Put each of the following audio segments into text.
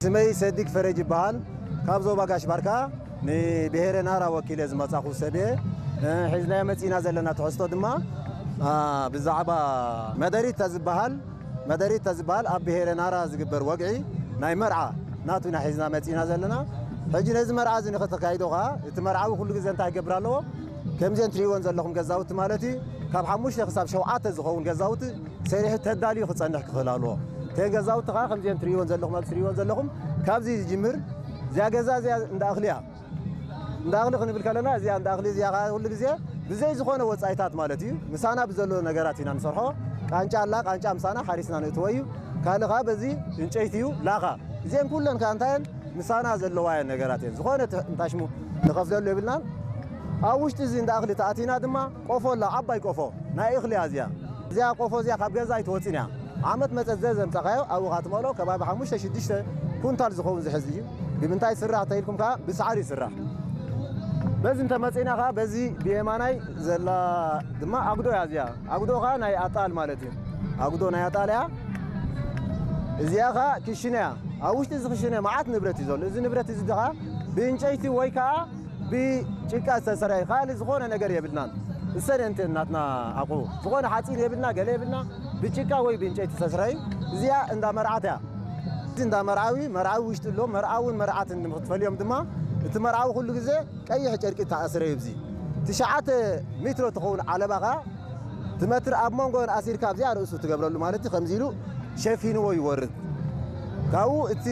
ስመይ ሰዲግ ፈረጅ ይበሃል። ካብ ዞባ ጋሽ ባርካ ንብሄረ ናራ ወኪለ ዝመጻኹ ሰብ እየ። እ፣ ሒዝናዮ መጺና ዘለና ትሕዝቶ ድማ፣ አ፣ ብዛዕባ መደሪት ተዝበሃል፣ መደሪት ተዝበሃል ኣብ ብሄረ ናራ ዝግበር ወግዒ ናይ መርዓ ናቱ ኢና ሒዝና መጺና ዘለና። ሕጂ ነዚ መርዓ እዚ ንኽተካይዶ ኸኣ እቲ መርዓዊ ኩሉ ግዜ እንታይ ክገብር ኣለዎ? ከምዘን ትርእይወን ዘለኹም ገዛውቲ ማለት እዩ፣ ካብ ሓሙሽተ ክሳብ ሸውዓተ ዝኸውን ገዛውቲ ሰሪሑ ተዳልዩ ክጸንሕ ክኽእል ኣለዎ። እተን ገዛውቲ ኸኣ ከምዘን ትርእይወን ዘለኹም፣ ኣብዚ ትርእይወን ዘለኹም፣ ካብዚ ዝጅምር እዚኣ ገዛ እዚኣ እንዳ እኽሊ እያ። እንዳ እኽሊ ክንብል ከለና እዚኣ እንዳ እኽሊ እዚኣ ኸኣ ኩሉ ግዜ ብዘይ ዝኾነ ወጻኢታት ማለት እዩ፣ ምሳና ብዘሎ ነገራት ኢና ንሰርሖ። ቃንጫ ኣላ፣ ቃንጫ ምሳና ሓሪስና ንእትዎ እዩ። ካልእ ኸኣ በዚ ዕንጨይቲ እዩ፣ ላኻ። እዚአን ኩለን ከኣ እንታይ እየን? ምሳና ዘለዋ እየን ነገራት እየን። ዝኾነ ት-፣ እንታይ ሽሙ ንኸፍለሉ የብልናን። ኣብ ውሽጢ እዚ እንዳ እኽሊ ተኣቲና ድማ ቆፎ ኣላ፣ ዓባይ ቆፎ ናይ እኽሊ እያ እዚኣ። እዚኣ ቆፎ እዚኣ ካብ ገዛ ኣይትወጽእን እያ። ዓመት መጸት ዘዘምጻኻዮ ኣብኡ ኸኣ ትመልኦ ከባቢ ሓሙሽተ ሽዱሽተ ኩንታል ዝኸውን ዝሕዝ እዩ። ብምንታይ ይስራሕ ተኢልኩም ከኣ ብሳዕሪ ይስራሕ። በዚ እንተመጺእና ከኣ በዚ ብየማናይ ዘላ ድማ ኣጉዶ እያ እዚኣ። ኣጉዶ ከኣ ናይ ኣጣል ማለት እዩ። ኣጉዶ ናይ ኣጣል እያ። እዚኣ ከኣ ክሽነ እያ። ኣብ ውሽጢ እዚ ክሽነ መዓት ንብረት እዩ ዘሎ። እዚ ንብረት እዚ ከኣ ብእንጨይቲ ወይ ከኣ ብጭቃ ዝተሰርሐ ካልእ ዝኾነ ነገር የብልናን። እሰን እንትን ናትና ኣቑሑ ዝኾነ ሓፂን የብልና፣ ገለ የብልና። ብጭቃ ወይ ብእንጨይቲ ዝተሰርሐ እዩ። እዚኣ እንዳ መርዓት እያ። እዚ እንዳ መርዓዊ፣ መርዓዊ ውሽጢ ኣሎ። መርዓውን መርዓትን ንክትፈልዮም ድማ እቲ መርዓዊ ኩሉ ግዜ ቀይሕ ጨርቂ ተኣስረ እዩ። እዚ ትሽዓተ ሜትሮ ትኸውን ዓለባ ኸኣ ትመትር ኣብ መንጎን ኣሲርካ ኣብዚኣ ርእሱ ትገብረሉ ማለት እዩ። ከምዚ ኢሉ ሸፊንዎ ይወርድ። ካብኡ እቲ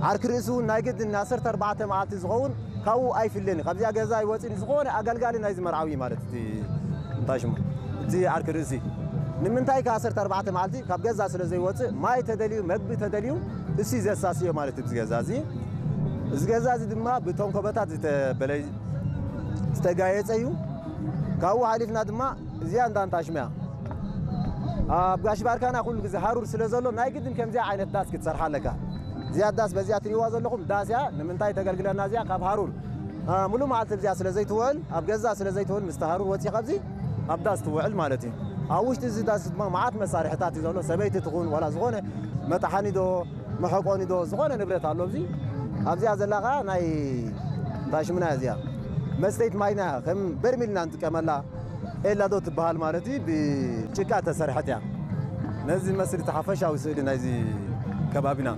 ዓርኪ ርእሲ እውን ናይ ግድን ዓሰርተ ኣርባዕተ መዓልቲ ዝኸውን ካብኡ ኣይፍለን እዩ። ካብዚኣ ገዛ ኣይወፅን እዩ። ዝኾነ ኣገልጋሊ ናይዚ መርዓዊ ማለት እቲ እንታይ ሽሙ እቲ ዓርኪ ርእሲ ንምንታይ ከ ዓሰርተ ኣርባዕተ መዓልቲ ካብ ገዛ ስለ ዘይወፅእ ማይ ተደልዩ መግቢ ተደልዩ እሱ እዩ ዘሳስዮ ማለት እዩ። እዚ ገዛ እዚ እዚ ገዛ እዚ ድማ ብተንኮበታት ዝተበለ ዝተጋየፀ እዩ። ካብኡ ሓሊፍና ድማ እዚኣ እንዳ እንታሽም እያ። ኣብ ጋሽ ባርካና ኩሉ ግዜ ሃሩር ስለ ዘሎ ናይ ግድን ከምዚኣ ዓይነት ዳስ ክትሰርሓ ኣለካ። እዚኣ ዳስ በዚኣ ትሪእዋ ዘለኹም ዳስ እያ። ንምንታይ ተገልግለና እዚኣ ካብ ሃሩር፣ አ፣ ሙሉእ መዓልቲ እዚኣ ስለ ዘይትውዕል፣ ኣብ ገዛ ስለ ዘይትውዕል ምስቲ ሃሩር ወፂኻ ኣብዚ ኣብ ዳስ ትውዕል ማለት እዩ። ኣብ ውሽጢ እዚ ዳስ ድማ መዓት መሳርሕታት እዩ ዘሎ። ሰበይቲ ትኹን ዋላ ዝኾነ መጥሓኒ ዶ መሐቆኒ ዶ ዝኾነ ንብረት ኣሎ ኣብዚ። ኣብዚኣ ዘላ ኸዓ ናይ እንታይ ሽምና እያ እዚኣ መስተይት ማይና ከም በርሚልና ንጥቀመላ። ኤላ ዶ ትበሃል ማለት እዩ፣ ብጭቃ ተሰርሐት እያ። ነዚ መስል እቲ ሓፈሻዊ ስእሊ ናይዚ ከባቢና።